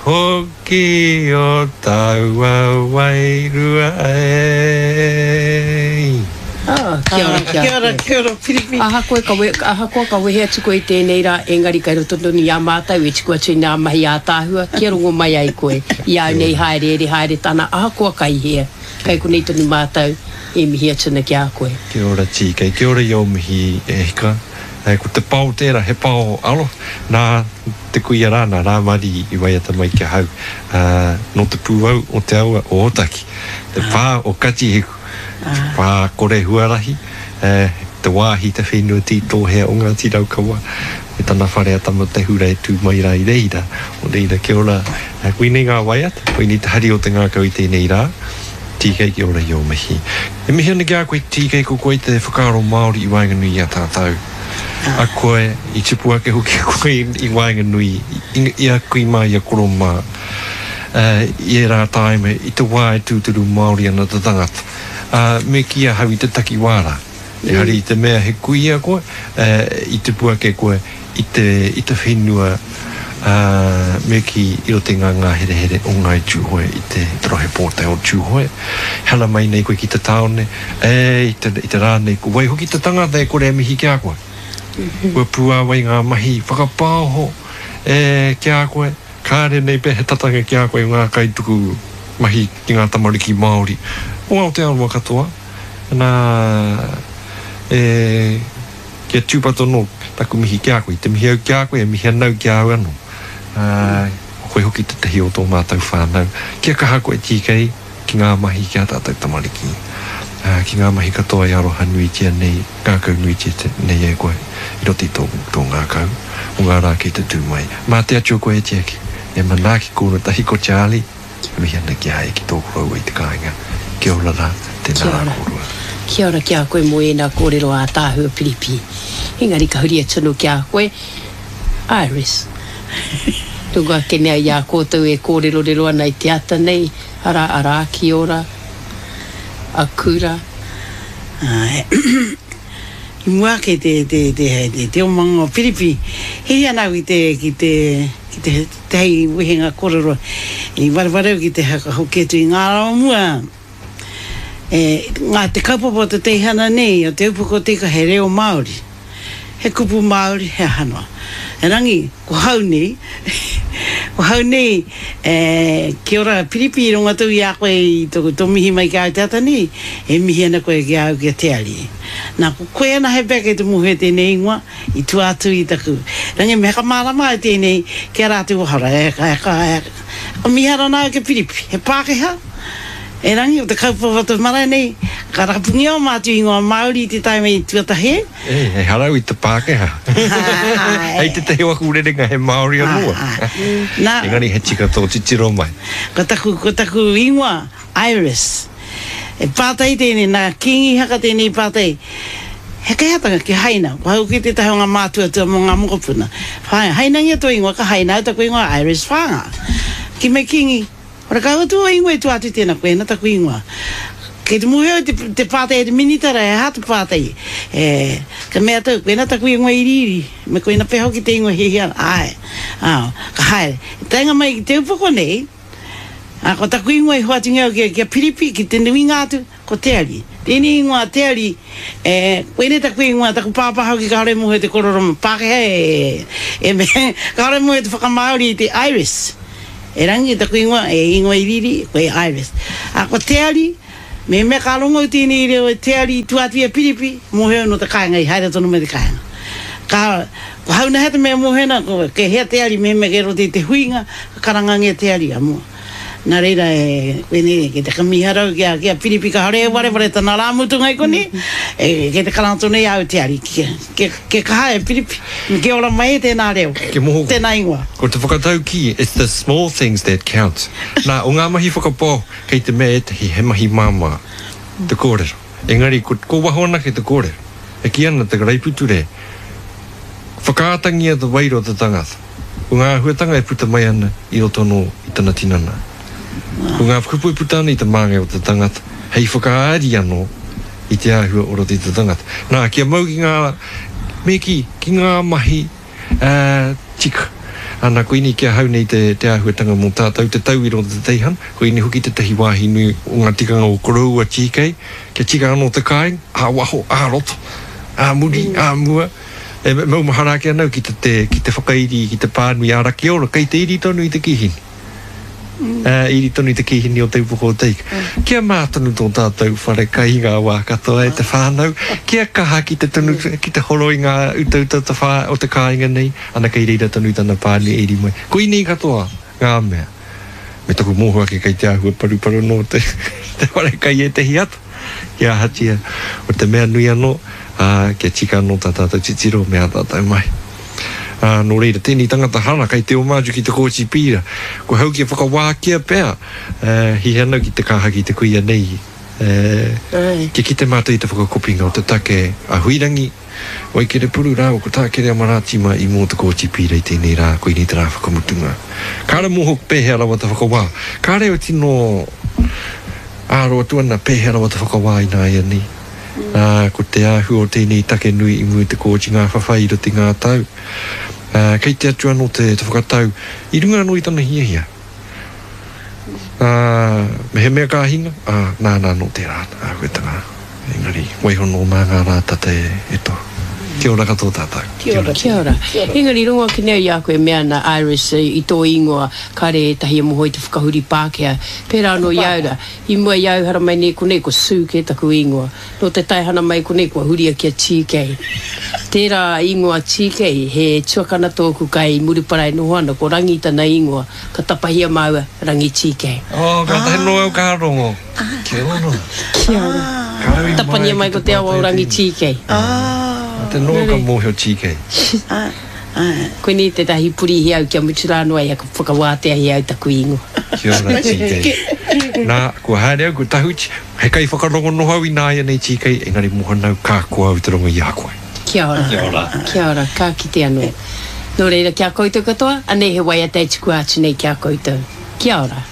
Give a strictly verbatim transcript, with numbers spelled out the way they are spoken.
hoki o taua wairua e. Ah, kia ora, kia, Kia ora, kia ora, Piripi. Ahakoa ka, we, ahakoa ka wehe atu koe i tēnei rā, engari kai roto tonu i a mātou e tuku atu i ngā mahi ātaahua, kia rongo mai ai koe. I au nei haere ere haere tana, ahakoa kai hea. Kai konei tonu mātou e mihi atu ana ki a koe. Kia ora T K, kia ora i o mihi e hika. E, ko te pao tērā, he pao aro, nā te kuia rā, nā Rāmari i waiata mai ki ahau, uh, nō te pūau o te awa o Ōtaki, te pā o Katihiku, te pā kore huarahi, eh, te wāhi te whenua tītōhea o Ngāti Raukawa, me tana whare a Tamatehura e tū mai rā i reira. O reira, kia ora, eh, koinei ngā waiata, koinei te hari o te ngākau i tēnei rā. T K, kia ora i o mihi. E mihi ana ki a koe T K, ko koe te whakaaro Māori i waenganui i a tātou. A koe, i tupu ake hoki koe i, i waenganui, i, i a kui mā, i a koro mā. Uh, i e rā tāime, i te wā e tūturu Māori ana te tangata. Uh, me ki ahau i te takiwā rā. Ehara i te mea he kuia koe, uh, i tupu ake koe i te, i te whenua uh, me ki i roto i ngā ngāherehere o Ngāi Tūhoe i te, te rohe pōtae o Tūhoe. Hala mai nei koe ki te tāone, e, i te, i te rā nei, ko wai hoki te tangata e kore e mihi ki a koe. Kua pūāwai ngā mahi whakapaoho e, ki a koe. Kāre nei pe he tatanga ki a koe ngā kaituku mahi ki ngā tamariki Māori. O Aotearoa katoa. Nā, e, kia tūpato nō taku mihi ki a koe. Te mihi au ki a koe, e mihi anau ki a au anō. Uh, koe hoki te tahi o tō mātou whānau. Kia kaha koe T K ki ngā mahi ki a tātou tamariki. Uh, ki ngā mahi katoa i aroha nuitia nei, ngākau nuitia te, nei e koe i roto i tō, tō ngākau o ngā rā kei te tū mai. Mā te Atua koe e tiaki, e manaaki kōrua tahi ko Charlie, e mihi ana ki a e ki tō koroua i te kāinga. Kia ora rā, tēnā Kia rā ora. Kōrua. Kia ora ki a koe mō ēnā kōrero ātaahua Piripi. Engari ka huri atu anō ki a koe, Iris. Rongo ake nei i a koutou e kōrerorero ana i te ata nei, ara ara ki ora, a kura. Ai. I mua ake te, te, te, te, te omanga o Piripi, hei ana au ki te, ki te, ki te, te hei wehenga kōrero, i wareware au ki te haka hoki atu i ngā rā o mua. E, ngā te kaupapa o te teihana nei, o te upoko te ika he reo Māori. He kupu Māori, he aha noa. E rangi, ko hau nei, ko hau nei, e, kia ora Piripi i rongo atu i a koe i tō, tō mihi mai ki a au te ata nei, e mihi ana koe ki a au ki a Te Ari. Nā, ko koe ana he pea kei te mōhio tēnei ingoa, i tua atu i taku. Rangi, me whakamārama au tēnei ki a rātou wahara. E, e, e, e, ka miharo nā au ki Piripi. He Pākehā, e rangi o te kaupapa te marae nei, ka rapungia o mātou ingoa Māori i te taima i tuatahi. E, e harau i te Pākehā. Hei te tehi waku rerenga he Māori anō. Nā, Engari he tika tō titiro mai. Ko taku, ko taku ingoa, Iris. E pātai tēnei, nā Kingi Haka tēnei pātai. He kaiatanga ki haina, ko hau ki te tahi o ngā mātua tua mō ngā mokopuna. Whai, hainangia tō ingoa, ka haina au taku ingoa Iris Whanga. Ki me Kingi, ora ka atu o ingoa i tua atu tēnā, koe taku ingoa. Kei te mōhio te, te pātai e te minitara, e hā te pātai. E, ka mea tau, koe taku ingoa i riri. Me koe na peho ki te ingoa hihia, ai. Ah, ka haere. Taenga mai ki te upoko nei, a, ko taku ingoa i hoatungia au ki, ki a Piripi, ki te nuinga atu, ko Te Ari. Tēnei ingoa Te Ari, e, koinei taku ingoa, taku pāpā hoki kāore mōhio te korero Pākehā e, e, me, kāore mōhio te whakamāori i te Iris. E rangi taku ingoa, e ingoa i riri, koe Iris. A, ko Te Ari, me mea ka rongo i tēnei reo e Te Ari i tua atu i a Piripi, mōhio no te kāinga, i haere tonu mai te kāinga. Ka, ko hauna he te mea mōhio na, ko ke hea Te Ari, me mea ke roto i te huinga, ka karangangia Te Ari a mua. Nā reira e, koinei, ke te kamiharau ki a, ki a Piripi ka hore e wareware tana rā mutunga i koni, e, ke te karanga tonu i au Te Ari. Ke, ke, ke kaha e Piripi, ke ora mai e tēnā reo, Ke moho. Tēnā ingoa. Ko te whakataukī, it's the small things that count. Nā, o ngā mahi whakapao, kei te mea ētahi he mahi māmā te kōrero. Engari, ko, ko waho anake te kōrero. E ki ana te karaipiture, whakaatangia te wairua o te tangata. Ko ngā āhuatanga e puta mai ana i roto anō i tana tinana. Ko ngā kupu e puta ana i te māngai o te tangata, hei whakaari anō i te āhua o roto i te tangata. Nā, kia mau ki ngā, me ki, ki ngā mahi uh, tika. Ana, koinei ki ahau nei te, te āhuatanga mō tātou, te tauira o te teihana, koinei hoki tētahi wāhi nui o ngā tikanga o koroua T K, kia tika anō te kāinga, ā-waho, ā-roto, ā-muri, ā-mua. E maumahara ake ana au ki te, te, ki te whakairi, ki te pānui ā Rakiora, kei te iri tonu i te kīhini. Mm. Iri tonu i te kīhini o Te Upoko o Te Ika. Mm. Kia mā tonu tō tātou whare kai i ngā wā katoa e te whānau, kia kaha ki te tonu, ki te horo i ngā utauta o te whā, o te kāinga nei, ana kei reira tonu tana pānui e iri mai. Koinei katoa ngā mea. Me taku mōhio ake kei te āhua paruparu nō te, te whare kai ētehi ata. Kia ahatia, o te mea nui anō, ā, kia tika anō tā tātou titiro me ā tātou mahi. Ā, nō reira, tēnei tangata hara kei te oma atu ki te kōti pīra. Ko hau kia whakawākia pea, ē, hihi ana ki te kāhaki te kuia nei, ē, kia kite mātou i te whakakopinga o te take a Huirangi, Waikerepuru rāua ko Tā Kereama Rātima i mua o te kōti pīra i tēnei rā, koinei te rā whakamutunga. Kāre mōhio pēhea rawa te whakawā. Kāre au tino āro atu ana pēhea rawa te whakawā ināianei. Ā, ko te āhua o tēnei take nui i mua i te kōti ngā whawhai i roto i ngā tau. Ā, kei te atu anō te, te whakatau i runga anō i tana hiahia. Ā, mehemea ka hinga, ā, nāna anō tērā āhuatanga. Engari, waiho nō mā ngā rā tata e, e tohu. Kia ora katoa tātou. Kia ora. Kia ora. Engari, rongo ake nei i a koe e mea ana, Iris, i tō ingoa, kāre ētahi e moho i te whakahuri Pākehā. Pērā anō i a au rā. I mua i a au haramai nei konei, ko Sue kē taku ingoa. Nō te taehana mai konei, kua huria ki a T K. Tērā ingoa T K, he tuakana tōku kai Murupara e noho ana, ko Rangi tana ingoa. Ka tapahia māua, Rangi T K. Oh, kātahi noa au ka rongo. Kia ora. Kia ora. Tapania mai ko te awa o Rangi T K. Te noa ka mōhio T K. Koinei tētahi purihi au kia mutu rā noa ia ka whakawāteahia au taku ingoa. Kia ora T K. Nā, kua haere au, kua tahuti, he kaiwhakarongo noho au ināianei T K, engari mōhana au ka koa au te rongo i a koe. Kia ora. Kia ora. Kia ora, ka kite anō. Nō reira, ki a koutou katoa, anei he waiata e tukua atu nei ki a koutou. Kia ora.